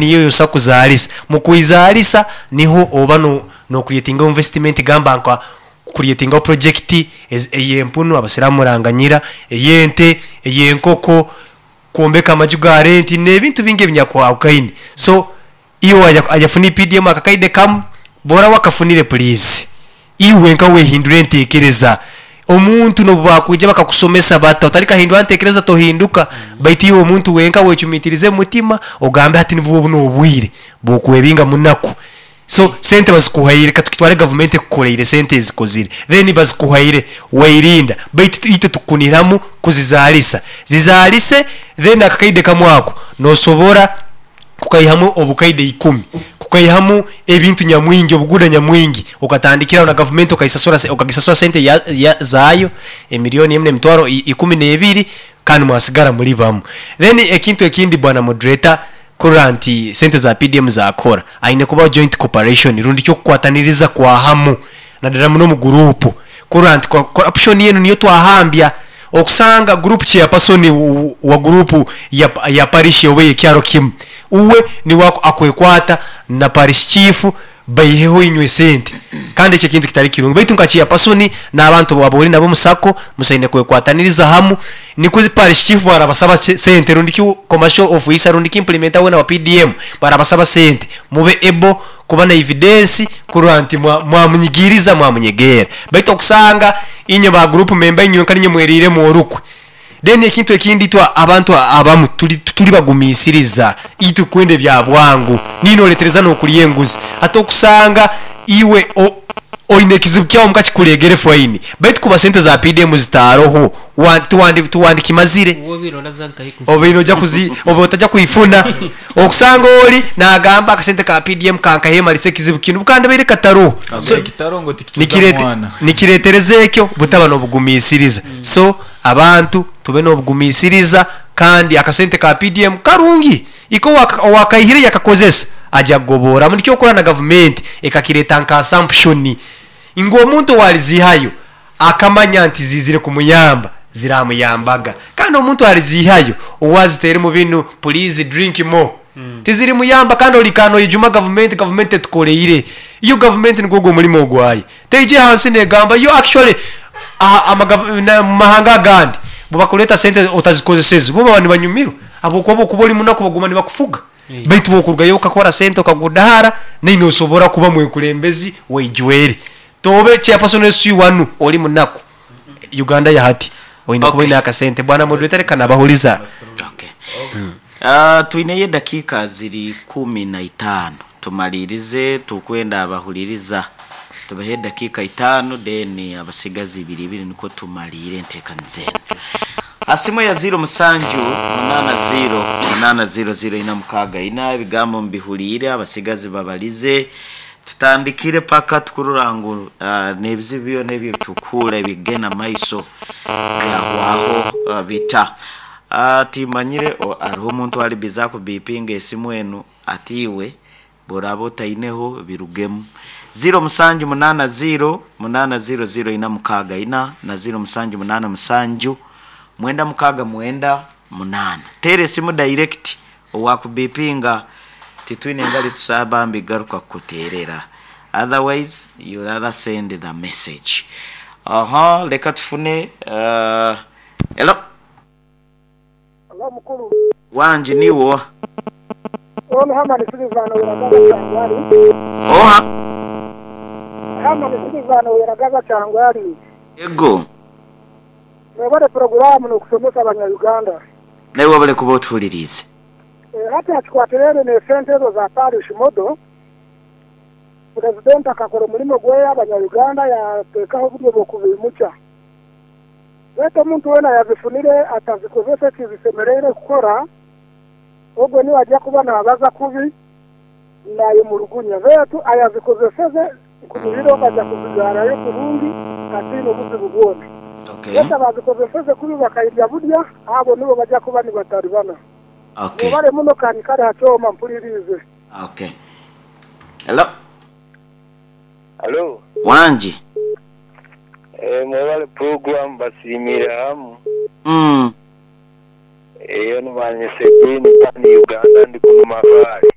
Niyo ey'osa kuzaalisa. Mu kwizaalisa niho oba n'okurietingaho invesitimenti gamba nka kurietingaho purojekiti ey'empunu, Abasiraamu muranganyira, ey'ente, ey'enkoko, kwombeka amaju ga renti n'ebintu bingi ebinyakwahukhaine. So iwe ayafuna EPDM akakaide kamu, bw'oraba wakafunire puliizi iwe nka wehindure entekereza. Omuntu n'obu bakwija bakakusomesa bata, otalikahindura ntekereza tohinduka. Baitu iwe omuntu wenka wecumitirize omu mutima ogambe hati nibwo buno obwire bw'okwebinga munaku. So sente bazikuhaire katukitware gavumenti ekukoreire sente ezikozire then bazikuhaire wairinda baitu itwe tukukunihiramu kuzizaalisa. Zizaalise then akakaide kamu ako nosobora kukaihamu obukaide ikumi, kukaihamu ebintu nyamwingi, obuguuda nyamwingi okatandikiraho na gavumenti okaisasura okagisasura sente ya zaayo emilioni emu n'emitwaro ikumi n'ebiri kandi mwasigara muri bamu. Then ekintu ekindi bwana moderator kurora nti sente za PDM zakora, aine kubaho joint cooperation rundi ki okukwataniriza kwa hamu nadala muno omu guruupu kurora nti corruption enu niyo twahambya. Okusanga guruupu chairperson wa guruupu ya parish oba ey'ekyaro kimu uwe niwe akwekwata na parish chief baiheho inywe sente kandi ekyo ekintu kitali kirungi baitu nka chairperson n'abantu aboli nabo omu sacco musaine kwekwataniriza hamu nikwo parish chief bwarabasaba sente rundi ki commercial officer rundi ki implementer wena wa PDM bwarabasaba sente mube able kuba na evidence kurora nti mwamunyigiriza mwamunyegeera baitu okusanga inywe ba group member inywenka ninywe mweriiremu orukwe. Then ekintu ekindi itwe abantu abamu tuli tituli bagumiisiriza, itwe kwenda ebya bwangu. Niine oletereza n'okulya enguzi. Hati okusanga iwe oine ekizibu kyawe omuka kikuleegere faini, baitu kuba sente za PDM zitaaroho, tiwandikimazire. Obaire noija kuzi, obaire otaja kwifuna. Okusanga oli nagamba akasente ka PDM kankahemalisa ekizibu kinu bukandibaire kataroho. So, nikiretereza ekyo butaba nobugumisiriza. So abantu tube nobugumisiriza kandi akasente ka PDM karungi. Iko owakaihire yakakozesa aja kugoboramu. Nikyo okora na gavumenti ekakireta nka assumption ngu omuntu owalizihayo akamanya nti ziizire kumuyamba, ziramuyambaga. Kandi omuntu aliziihayo owazitairemu binu pulizi drink more tizirimuyamba kandi oliikara noyejuma gavumenti, gavumenti tetukoreire. Yo gavumenti nigwo ogwo omurimo gwayo. Teija ahansi negamba yo actually mu mahanga agandi bwebakureeta sente otazikozeseze bo baba nibanyumirwa ahabwokuba bwokuba ori munaku baguma nibakufuga. Baitu bwokurugayo okakora sente okagudahara nainwe nosobora kuba mwekulembezi weijwere. Tobe chairperson SU wanu oli munaku Uganda yahati oine kuba oine akasente. Bwana moderator leka nabahuliza. Okay. Twineyo edakiika ziri kumi na itaano tumalirize tukwenda abahuliriza tubahe edakiika itaano then abasigazi ibiri ibiri nikwo tumaliire entekaniza enu. Ha simu eya ziiro musanju munaana ziiro munaana ziiro ziiro ina mukaaga ina ebigambo mubihuliire abasigazi babalize Tutandikire paka tukurora ngu n'ebizibu byona ebi ebitukuhurra ebikugenda mu maiso byahwaho bita. Timanyire haroho omuntu ali bize akubipinga esimu enu ati iwe bworaba otaineho birugemu. Ziiro musanju munaana ziiro munaana ziiro ziiro ina mukaaga ina na ziiro musanju munaana musanju mwenda mukaaga mwenda munaana. Teera esimu direct Owakubipinga titwine ngali tusaaba bambi garuka kukuterera otherwise you rather send the message Oho leka tufune Hello. Hello mukulu. Wangi niiwe oha? Ono Hamani Silivano Weragaza Kyangwali. Oha? Hamani Silivano Weragaza Kyangwali. Yego. Mwebale puroguramu n'okusomesa abanya Uganda. Naiwe webale kuba otuhuliriize. Hati hakikwatiraine n'esente ezo za parish model, Purezidenti akakora omurimo gweye abanya Uganda yateekaho oburyo bw'okubiimukya. Beitu omuntu weena ayazifunire atazikozesa eki zisemereire kukora, ogwo niwe aja kuba naabaza kubi naayemurugunya. Beitu ayazikozeseze nkunihira ogwo aja kuzigaarayo kurungi ataine obuzibu bwona. Okay. Beitu abaazikozeseze kubi bakairya burya, abo nibo baja kuba nibataribana. Okay. Mwebale muno kanyikare ha kyoma mpuliriize. Okay. Hello. Halo. Wangi. Eh, mwebale program basiimire hamu. Eyo ni Manyise Queen Pan Uganda ndi kuno Mabaale.